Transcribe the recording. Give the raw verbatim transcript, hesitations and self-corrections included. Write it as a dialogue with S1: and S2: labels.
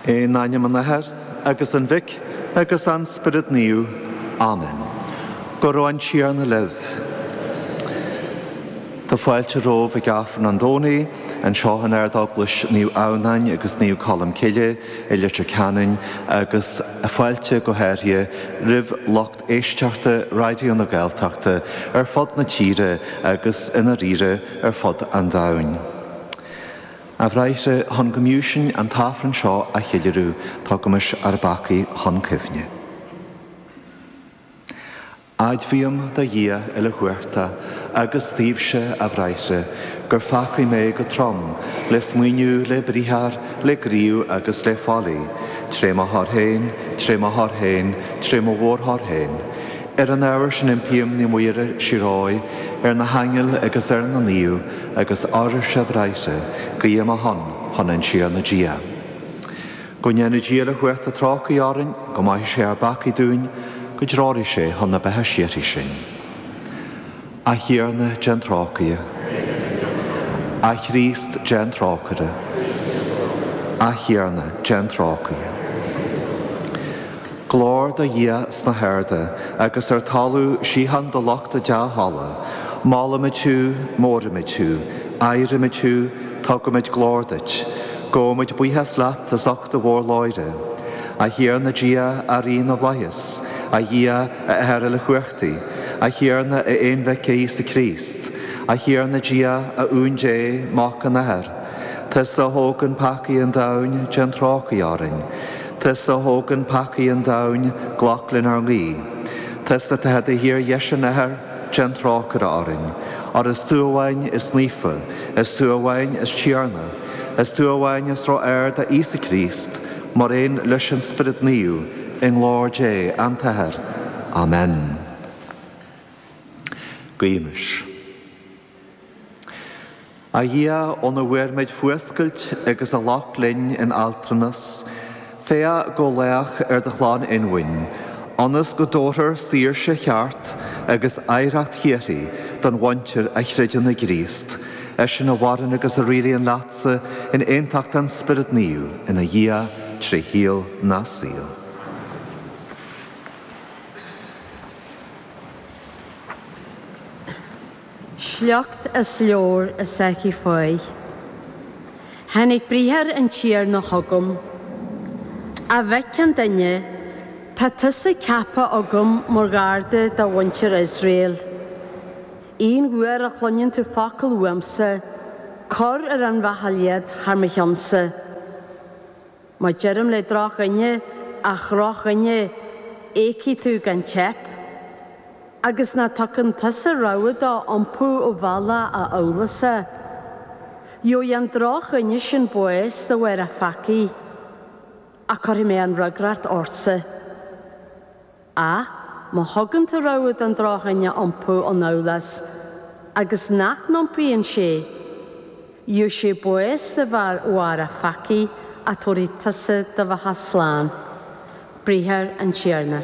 S1: In ainm an Athar agus an Mhic agus an Spiorad Naomh. Amen. Go raibh an Tiarna libh. Tá fáilte romhaibh ag Aifreann an Domhnaigh, anseo in Ardeaglais Naomh Adhamhnáin agus Naomh Colm Cille i Leitir Ceanainn agus fáilte go háirithe roimh lucht éisteachta Raidió na Gaeltachta ar fud na tíre agus i ndáiríre ar fud an domhain. A bhráithre chun go mb'fhiú sinn an tAifreann seo a cheiliúradh, tugaimis ár bpeacaí chun cuimhne. Admhaím do Dhia uilechumhachtach agus daoibhse a bhráithre, gur pheacaigh mé go trom le smaoineamh le briathar le gníomh agus le faillí, tré mo choir féin, tré mo choir féin, tré mo mhórchoir féin. Ar an ábhar sin impím Naomh Muire síoraí, ar na haingil agus ar na naoimh, agus oraibhse a bhráithre, guí ar mo shon chun an Tiarna Dia. Go ndéana Dia uilechumhachtach trócaire orainn, go maithe sé ár bpeacaí dúinn, go dtreoraí sé chun na beatha síoraí sinn. A Thiarna déan trócaire. A Chríost déan trócaire. A Thiarna déan trócaire. Glóir do Dhia sna harda agus ar talamh síocháin do lucht a dea-thola, Molaimid thú, móraimid thú, adhraimid thú, tugaimid glóir duit, Gabhaimid buíochas leat as ucht do mhórghlóire. A Thiarna Dia a Rí na bhFlaitheas, a Dhia a Athair uilechumhachtaigh, a Thiarna a Aonmhic Íosa Críost, a Thiarna Dia a Uan Dé Mac an Athar, Tusa a thógann peacaí an domhain déan trócaire orainn. Tusa a thógann peacaí an domhain glac lenár nguí. Tusa atá i do shuí ar dheis an Athar déan trócaire orainn. Óir is tú amháin is naofa, is tú amháin is Tiarna, is tú amháin is ró-ard a Íosa Críost, mar aon leis an Spiorad Naomh i nglóir Dé an tAthair. Amen. Guímis. A Dhia óna bhfuair muid fuascailt agus a ghlac linn in altranas, Féach go lách ar do chlann inmhain, ionas go dtabharfar saoirse cheart agus oidhreacht shíoraí don mhuintir a chreideann i gCríost, eisean a mhaireann agus a rialaíonn leatsa in aontacht an Spiorad Naomh ina Dhia trí shaol na saol.
S2: Sliocht as leabhar Ezekiel fáidh. Tháinig briathar an Tiarna chugam. A mhic an duine, tá tusa ceaptha agam mar gharda do mhuintir Iosrael. Aon uair a chluineann tú focal uaimse, cuir ar an bhachall iad thar mo cheannsa. Má deirim le drochdhuine, a dhrochdhuine, éagfaidh tú gan teip, agus ná tugann tusa rogha dó iompú ó bhealach a amhlasa. Gheobhaidh an drochdhuine sin bás de bharr a pheacaí, ach cuirfidh mé an fhreagracht ortsa. Ach má thugann tú rogha don drochdhuine iompú ón amhlas, agus nach n-iompaíonn sé, gheobhaidh sé bás de bharr a pheacaí ach tabharfaidh tusa do bheatha slán. Briathar an Tiarna.